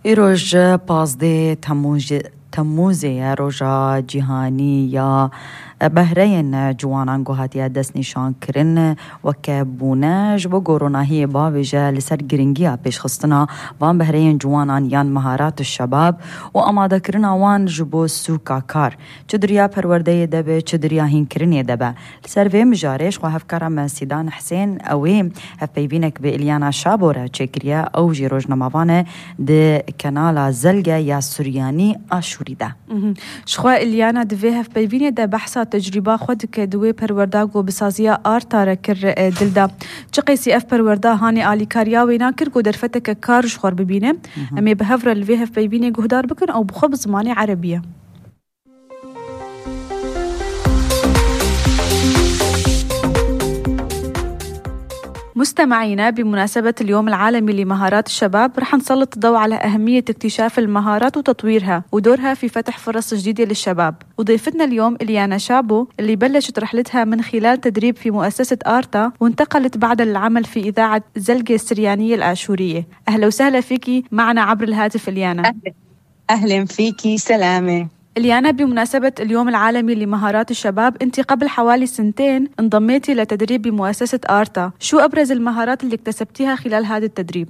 ایروژ پازده تموزه روژا جیهانی یا بهرین جوانان گوهاتیا دست نشان کرن و که بونج و گوروناهی باویجه لسر گرنگیا پیش خستنا وان بهرین جوانان یان مهارات الشباب و اماده کرن وان جبو سوکا کار چدریا پرورده دبه چدریا هین کرنی دبه لسر وی مجارش و هفکارا من سیدان حسین اوی هف پیبینک به الیانا شابوره چکریا او جی روژ نماوانه ده کنالا زلگه یا سوریانی آشوری ده شخوا الیانا دوی هف پیبینه ده بحثا تجربه خود که دوی پرورداگو بسازیا آرتا را کر دلدا چه قیسی اف پروردا هانی آلی کاریاوی ناکر گو در فتک کارش خور ببینه امی به هفر الوی هف پیبینه گهدار بکن او بخوب زمانی عربیه. مستمعينا بمناسبة اليوم العالمي لمهارات الشباب رح نسلط الضوء على أهمية اكتشاف المهارات وتطويرها ودورها في فتح فرص جديدة للشباب. وضيفتنا اليوم إليانا شابو اللي بلشت رحلتها من خلال تدريب في مؤسسة آرتا وانتقلت بعد للعمل في إذاعة زلقة السريانية الآشورية. أهلا وسهلا فيكي معنا عبر الهاتف إليانا. أهلا فيكي سلامة. إليانا بمناسبة اليوم العالمي لمهارات الشباب أنت قبل حوالي 2 انضميتي لتدريب بمؤسسة آرتا، شو أبرز المهارات اللي اكتسبتيها خلال هذا التدريب؟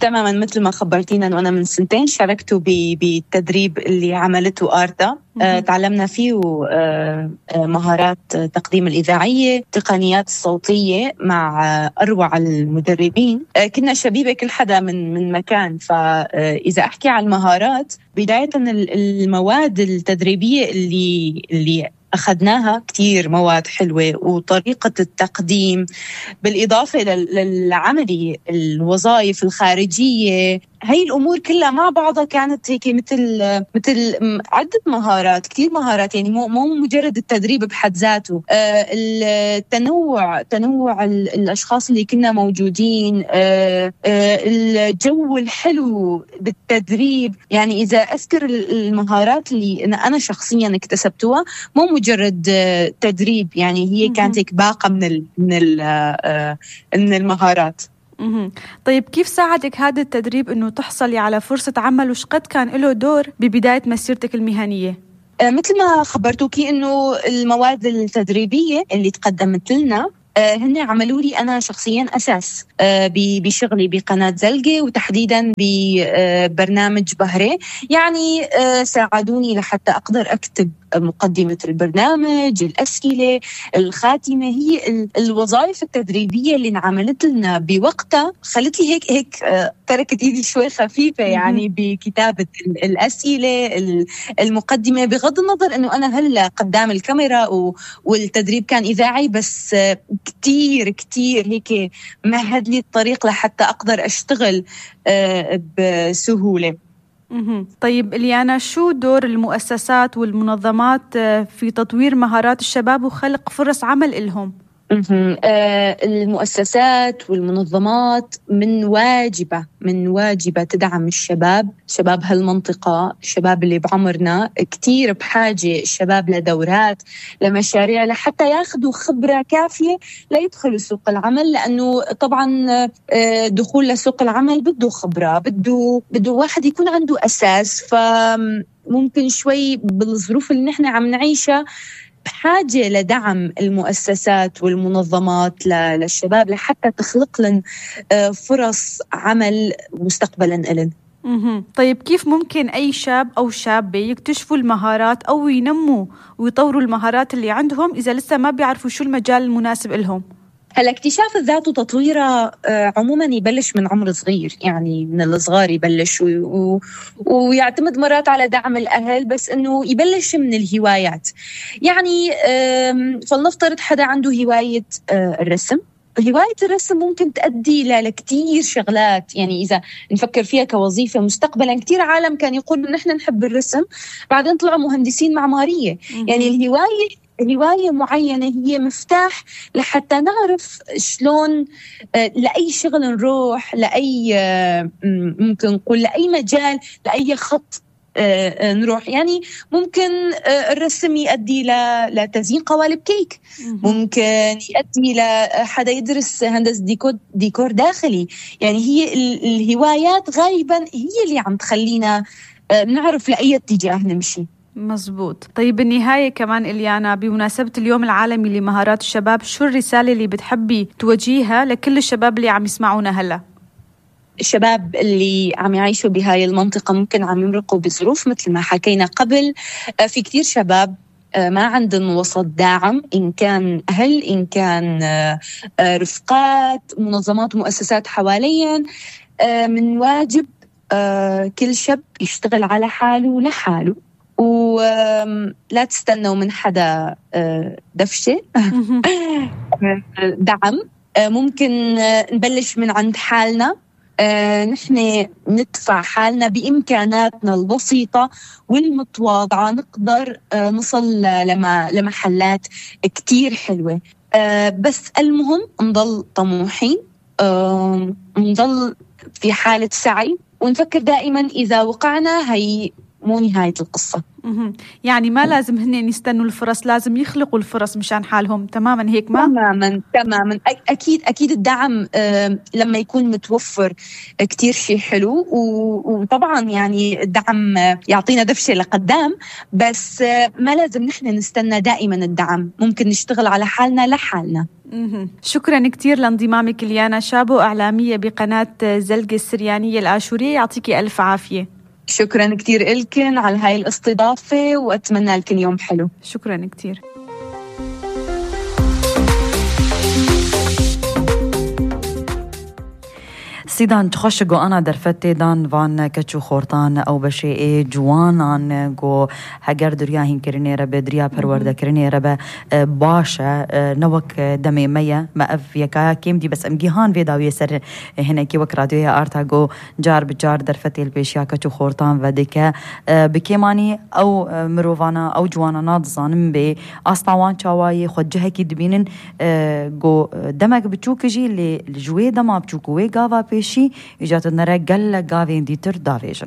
تماما مثل ما خبرتينا أنه أنا من 2 شاركت بالتدريب اللي عملته آرتا. تعلمنا فيه مهارات تقديم الإذاعية، تقنيات الصوتية مع أروع المدربين. كنا شبيبة كل حدا من مكان. فإذا أحكي عن المهارات بداية المواد التدريبية اللي أخذناها كتير مواد حلوة وطريقة التقديم بالإضافة للعملية الوظائف الخارجية. هاي الأمور كلها مع بعضها كانت هيك مثل عدة مهارات، كتير مهارات، يعني مو مجرد التدريب بحد ذاته. تنوع الأشخاص اللي كنا موجودين، الجو الحلو بالتدريب. يعني إذا أذكر المهارات اللي أنا شخصيا اكتسبتها مو مجرد تدريب، يعني هي كانت هيك باقة من المهارات. طيب كيف ساعدك هذا التدريب أنه تحصلي على فرصة عمل وشقد كان له دور ببداية مسيرتك المهنية؟ مثل ما خبرتوكي أنه المواد التدريبية اللي تقدمت لنا هن عملوا لي أنا شخصياً أساس بشغلي بقناة زلقة وتحديداً ببرنامج بهرة. يعني ساعدوني لحتى أقدر أكتب مقدمة البرنامج، الأسئلة، الخاتمة. هي الوظائف التدريبية اللي انعملت لنا بوقتها خلت لي هيك تركت إيدي شوي خفيفة يعني بكتابة الأسئلة، المقدمة، بغض النظر أنه أنا هلأ قدام الكاميرا والتدريب كان إذاعي، بس كتير هيك مهد لي الطريق لحتى أقدر أشتغل بسهولة. طيب إليانا، شو دور المؤسسات والمنظمات في تطوير مهارات الشباب وخلق فرص عمل إلهم؟ المؤسسات والمنظمات من واجبة تدعم شباب هالمنطقة، الشباب اللي بعمرنا. كتير بحاجة الشباب لدورات، لمشاريع، لحتى ياخدوا خبرة كافية ليدخلوا سوق العمل. لأنه طبعا دخول لسوق العمل بده خبرة، بده واحد يكون عنده أساس. فممكن شوي بالظروف اللي نحن عم نعيشها بحاجة لدعم المؤسسات والمنظمات للشباب لحتى تخلق لهم فرص عمل مستقبلا لهم. طيب كيف ممكن أي شاب أو شابة يكتشفوا المهارات أو ينموا ويطوروا المهارات اللي عندهم إذا لسه ما بيعرفوا شو المجال المناسب لهم؟ هلا اكتشاف الذات وتطويرها عموما يبلش من عمر صغير، يعني من الصغار يبلش ويعتمد مرات على دعم الأهل، بس إنه يبلش من الهوايات. يعني فلنفترض حدا عنده هواية الرسم. هواية الرسم ممكن تؤدي لكتير شغلات. يعني إذا نفكر فيها كوظيفة مستقبلا، كتير عالم كان يقول إن نحن نحب الرسم بعدين طلعوا مهندسين معمارية. يعني الهواية معينة هي مفتاح لحتى نعرف شلون لأي شغل نروح، لأي ممكن نقول لأي مجال، لأي خط نروح يعني ممكن الرسم يؤدي لتزيين قوالب كيك، ممكن يؤدي لحدا يدرس هندسة ديكور داخلي. يعني هي الهوايات غالبا هي اللي عم تخلينا نعرف لأي اتجاه نمشي. مزبوط. طيب بالنهاية كمان إليانا، بمناسبة اليوم العالمي لمهارات الشباب، شو الرسالة اللي بتحبي توجيها لكل الشباب اللي عم يسمعونا هلأ؟ الشباب اللي عم يعيشوا بهاي المنطقة ممكن عم يمرقوا بظروف مثل ما حكينا قبل. في كتير شباب ما عندهم وسط داعم، إن كان أهل، إن كان رفقات، منظمات ومؤسسات حواليا. من واجب كل شاب يشتغل على حاله لحاله، ولا تستنوا من حدا دفشة دعم. ممكن نبلش من عند حالنا، نحن ندفع حالنا بإمكاناتنا البسيطة والمتواضعة، نقدر نصل لمحلات كتير حلوة. بس المهم نضل طموحين، نضل في حالة سعي، ونفكر دائما إذا وقعنا هي مو نهاية القصة. يعني ما لازم هن يستنوا الفرص، لازم يخلقوا الفرص مشان حالهم. تماما هيك؟ ما تماما أكيد الدعم لما يكون متوفر كتير شيء حلو، وطبعا يعني الدعم يعطينا دفشة لقدام، بس ما لازم نحن نستنى دائما الدعم، ممكن نشتغل على حالنا لحالنا. شكرا كتير لانضمامك إليانا شابو، إعلامية بقناة زلقة السريانية الآشورية. يعطيكي ألف عافية. شكرا كتير إلكن على هاي الاستضافة، وأتمنى لكم يوم حلو. شكرا كتير. سيدان تخشقو أنا درفتي دان فان كتشو خورتان أو بشيء جوان عن جو هجر درياهين كرني ربا دريا بروردا كرني ربا باشا نوك دمي مية ما أف يكا كيم دي بس أمجيهان في داوية سر هنا كي وك راديوها أرتا جو جار بجار درفتي البيشيا كتشو خورتان وديكا بكيماني أو مروفانا أو جوانا ناضزان بي أسطوان شواي خد جهكي دبينن جو دمك بتشوك جي اللي جوي دما بتشوكوي غافا شي إجات النرى قل قاوين ديتر دافيجن.